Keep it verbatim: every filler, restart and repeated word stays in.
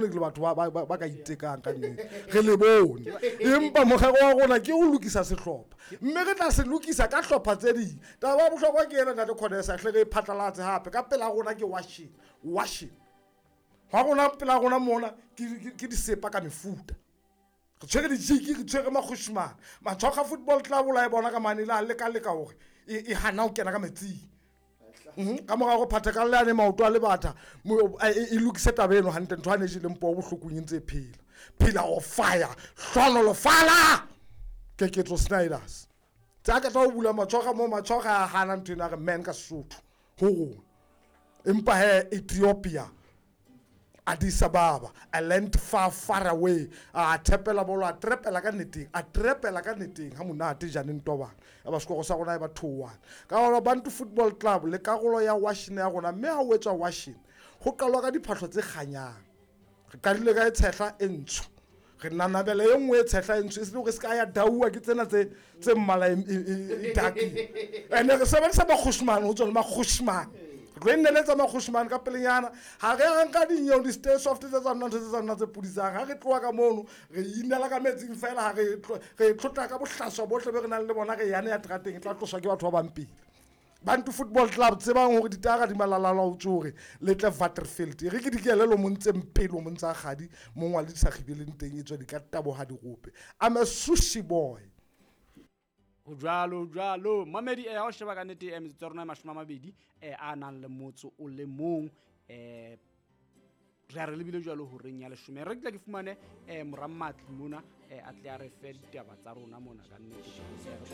Le batho ba- ba ba- ba ka itekang ka nnete, re le bone, empa morero wa rona ke ho lokisa sehlopha, mme re tla se lokisa ka hlopha tse ding. Taba ya bohlokwa ke ena, ntate Conesa, hle re e phatlalatse hape ka pela rona ke washing washing ga rona pela rona mona ke ke- ke disepa ka mefuta. Re tshwere dijiki, re tshwere makgoshimane. Matshoga Football Club o la e bona ka mane le a leka-leka hore e e hana ho kena ka metsing. Mhm, ka mora go phatha ka leane maoto a lebatha mo- a- e e lokise taba eno hantle. Ntho a ne e jeleng poo bohlokong e ntse e phela phela o fire hlonolofala Keketso Snyders tse a ka tla ho bula Matshoga mo Matshoga a hana ntho ena a re man ka Sesotho ho rona. Empa he Ethiopia, Addis Ababa, a land far, far away, a thepela bolo, a trepela ka neteng, a trepela ka neteng ha monate janeng tobana ya ba sekoro sa rona e ba two one. Ka gona Bantu Football Club le karolo ya washing ya rona, mme ha o etswa washing ho qalwa ka diphahlo tse kganyang. Re qadile ka e tshehla e ntsho, re nanabela e nngwe e tshehla e ntsho, e se le hore se ka ya dauwa ke tsena tse tse mmala e- e e- e dark-ile. Ene re sebedisa makgoshimane ho tswa le makgoshimane, re tlo e nneletsa makgoshimane ka pelenyana. Ha re a nka dinyeo di-stay soft tse tsa nna ntho tse tsa nna tse pudisang. Ha re tloha ka mono re inela ka metsing fela, ha re tlo- re tlotla ka bohlaswa bohle be re nang le bona, re yane ya terateng e tla tloswa ke batho ba bang pele. Bantu Football Club, tsebang hore ditara di malalala ho tsore le tle Waterfield. E re ke dikelelo mo ntseng pele mo ntsa kgadi mongwa le di sa kgibeleng teng e tswa di ka taboha dirope. I'm a sushi boy. Ho jwalo, ho jwalo, mamedi. eh ha o sheba ka nnete, eh, metsotso ya rona e mashome a mabedi eh a nang le motso o le mong, eh re a re lebile jwalo horeng ya leshome. Re ke tla ke fumane eh morammatli mona, eh a tle a re fe ditaba tsa rona mona ka nnete. Eh, re tlo